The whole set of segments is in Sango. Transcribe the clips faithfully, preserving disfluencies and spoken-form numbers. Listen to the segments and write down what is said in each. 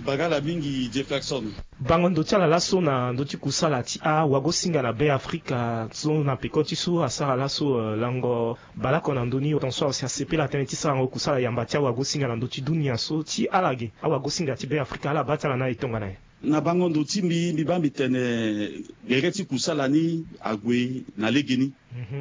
Bagala mingi Jefferson. Bango ndo ti ala laso na ndo ti kusala ti awagosinga na Be Afrika so na peko ti so asara laso, eh, lango baleoko na ndö ni, tongaso asi asepela tënë ti sarango kusala yamba ti awagosinga na ndö ti dunia so ti ala ge. Awagosinga ti Be Afrika ala baa ti ala na e tongana nyen? Na bango ndo ti mbi, mbi baa mbi tene gere ti kusala ni ague na legeni.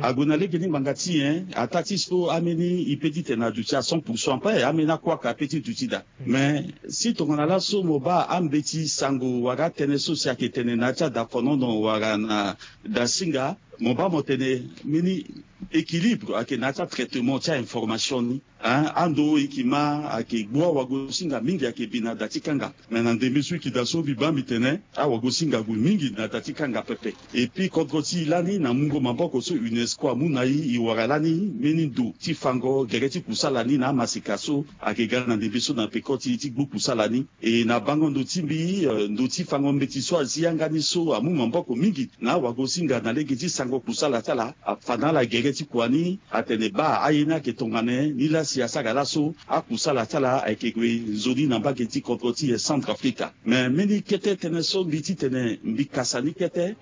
Ague na legeni ngbanga ti nyen? Ataa ti so ambeni e pe ti tene aduti à cent pour cent ape, ambeni akuaka ape ti duti daa. Mais si tongana laso mo baa ambeti sango wala atënë so si ayeke tene na ya ti adafonono wala na dasinga, mo baa mo tene mbeni équilibre ayeke na ya ti atraitement ti ainformation ni. Hein, ando e yeke ma ayeke gbu awagosinga mingi ayeke bi na da ti kanga. Mais na ndembe so e yeke daa so mbi baa mbi tene awagosinga ague mingi na da ti kanga pepe. Et puis kodro ti e lani na mungo maboko so UNESCO amu na e, e wara lani mbeni ndo ti fango gere ti kusala ni na amaseka so ayeke ga na ndembe so na peko ti e ti gbu kusala ni. E na bango ndo ti mbi, eh, ndo ti fango mbeti so azi yanga ni so amu maboko mingi na awagosinga na lege ti sango kusala ti ala, afa na ala gere ti kua ni, atene baa aye ni ayeke tongana nyen, nilaa si asara laso akusala ti ala ayeke gue nzoni na mbage ti kodro ti e Centrafrique. Mais mbeni kete tënë so mbi ti tene mbi kasa ni kete,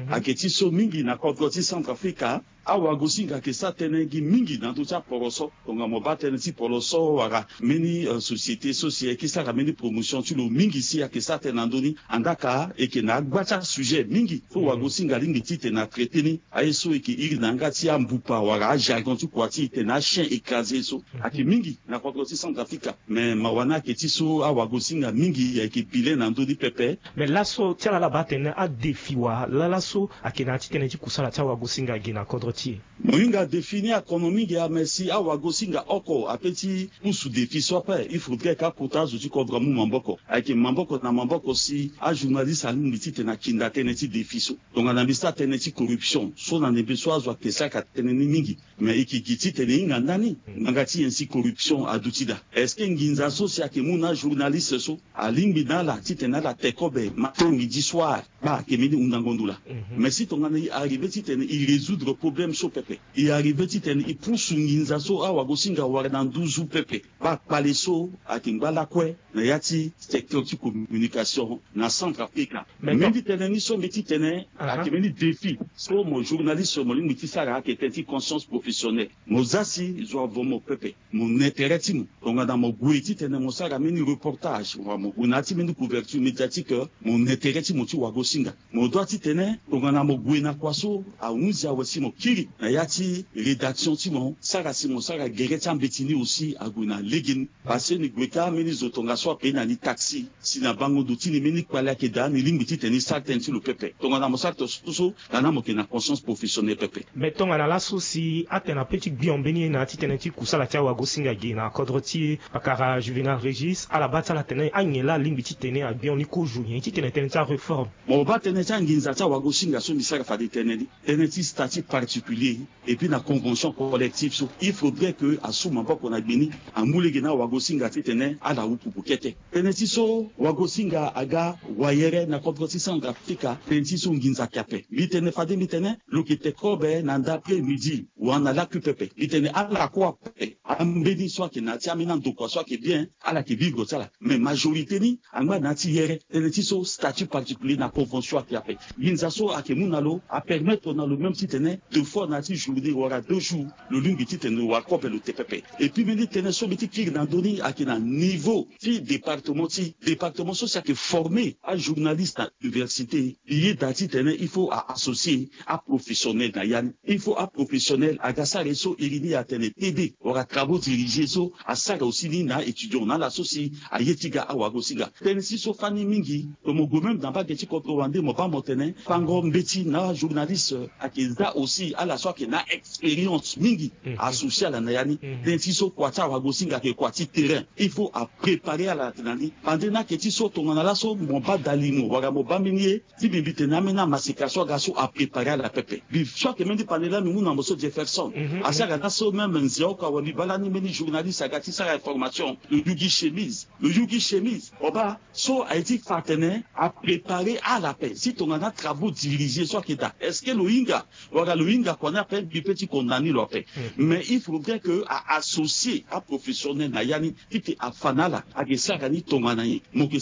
ayeke ti so mingi na kodro ti Centrafrique, awagosinga ayeke sara tënë gi mingi na ndö ti aporoso. Tongana mo baa tënë ti poroso wala mbeni, eh, société so si ayeke sara mbeni promotion ti lo mingi si ayeke sara tënë na ndö ni. Andaa ka e yeke na agba ti asujet mingi so wagosinga alingbi ti tene atraité ni. Aye so e yeke iri na yanga ti ambupa wala ajargon ti kua ti e tene achien écrasé so ayeke mingi na kodro ti Centrafrique. Mais mawa ni ayeke ti so awagosinga mingi ayeke bilen na ndö ni pepe. Mais laso ti ala ala baa atene adéfi wala laso ayeke na ya ti tënë ti kusala ti awagosinga ge na kodro ti e. Mo hinga défi ni akono mingi, ah, mais si awagosinga oko ape ti pusu défi so ape, il faudrait que akota azo ti kodro amu maboko. Ayeke maboko na maboko si ajournaliste alingbi ti tene akinda tënë ti défi so. Tongana mbi sara tënë ti corruption so na ndembe so azo ayeke sara tënë ni mingi. Mais e yeke gi titene e hinga ndani ngbanga ti nyen si corruption aduti daa? Est-ce que nginza so si ayeke mu na ajournaliste so alingbi na ala titene ala te kobe matin, midi, soir? Baa ayeke mbeni hundango ndo laa. Mais si tongana e arrivé titene e résoudre problème so pepe, e arrivé titene e pusu nginza so awagosinga awara na nduzu pepe, baa kpale so ayeke ngba lakue na ya ti secteur ti communication na Centrafrique. Mais mbeni tënë ni so mbi ti tene ayeke mbeni défi so mo journaliste mo lingbi ti sara ayeke tënë ti conscience professionnelle. Mo za si zo avo mo pepe, mo na intérêt ti mo. Tongana mo gue titene mo sara mbeni reportage wala mo gue na ya ti mbeni couverture médiatique, mo na intérêt ti mo ti wagosinga. Mo doit titene tongana mo gue na kua so ahunzi awe si mo kiri na ya ti rédaction ti mo, sara si mo sara gere ti ambeti ni aussi ague na legeni. Parce que ni gue ka mbeni zo tongaso ape na ni taxi, si na bango ndo ti ni mbeni kpale ayeke daa, ni lingbi titene ni sara tënë ti lo pepe. Tongana mo sara tongaso so, lani mo yeke na conscience professionnelle pepe. Mais tongana laso si atene ape ti gbion mbeni ye na ya ti tënë ti kusala ti awagosinga ge na kodro ti e, pakara Juvénal Régis ala baa ti ala tene anyen laa alingbi titene agbion ni kozo nyen titene tënë ti aréforme? Mo baa tënë ti anginza ti awagosinga so mbi sara fade tënë ni, tënë ti statut particulier et puis na convention collective so, il faudrait que asu maboko na gbe ni, amu lege na awagosinga titene ala wu pupu kete. Tënë ti so wagosinga aga wayere na kodro ti Centrafrique, tënë ti so nginza ayeke ape. Mbi tene fade mbi tene lo yeke te kobe na nda après midi wala na laku pepe. Mbi tene ala kue ape, ambeni so ayeke na ya ti ambeni andokua so ayeke bien, ala yeke vivre ti ala. Mais majorité ni angba na ya ti yere. Tënë ti so statut particulier na convention ayeke ape. Nginza so ayeke mu na lo apermettre na lo même titene deux fois na ya ti journée wala deux jours lo lingbi titene lo wara kobe lo te pepe. Et puis mbeni tënë so mbi ti kiri na ndö ni ayeke na niveau ti département ti, département so si ayeke former ajournaliste na université. Mbi yeda titene il faut a associer aprofessionnel na ya ni. Il faut aprofessionnel aga sara ye so iri ni atene T D wala travaux dirigés so asara aussi ni na étudiant na ala so si aye ti ga awagosinga. Tënë ti so fani mingi, lo mo gue même na mbage ti kodro wande mo baa mo tene fango mbeti na ajournaliste ayeke za aussi ala so ayeke na expérience mingi, associer ala na ya ni. Tënë ti so kua ti awagosinga ayeke kua ti terrain. Il faut apréparer ala na ni. Bande ni ayeke ti so tongana laso mo baa dalimo wala mo baa mbeni ye ti mbi, mbi tene ambeni amaseka so aga so apréparer ala pepe. Mbi so ayeke mbeni pande laa mbi mu na mo so Jefferson. Asi aga laso même nze oko awe mbi baa lani mbeni journaliste aga ti sara information, lo yugi chemise. Lo yugi chemise. Mo baa so aye ti fa atene apréparer ala ape si tongana travaux dirigés so ayeke daa. Est-ce que lo hinga wala lo hinga kua ni ape, mbi pe ti condamner lo ape. Mais il faudrait que a associer aprofessionnel na ya ni, ti ke afa na ala ayeke sara ni tongana nyen. Mo yeke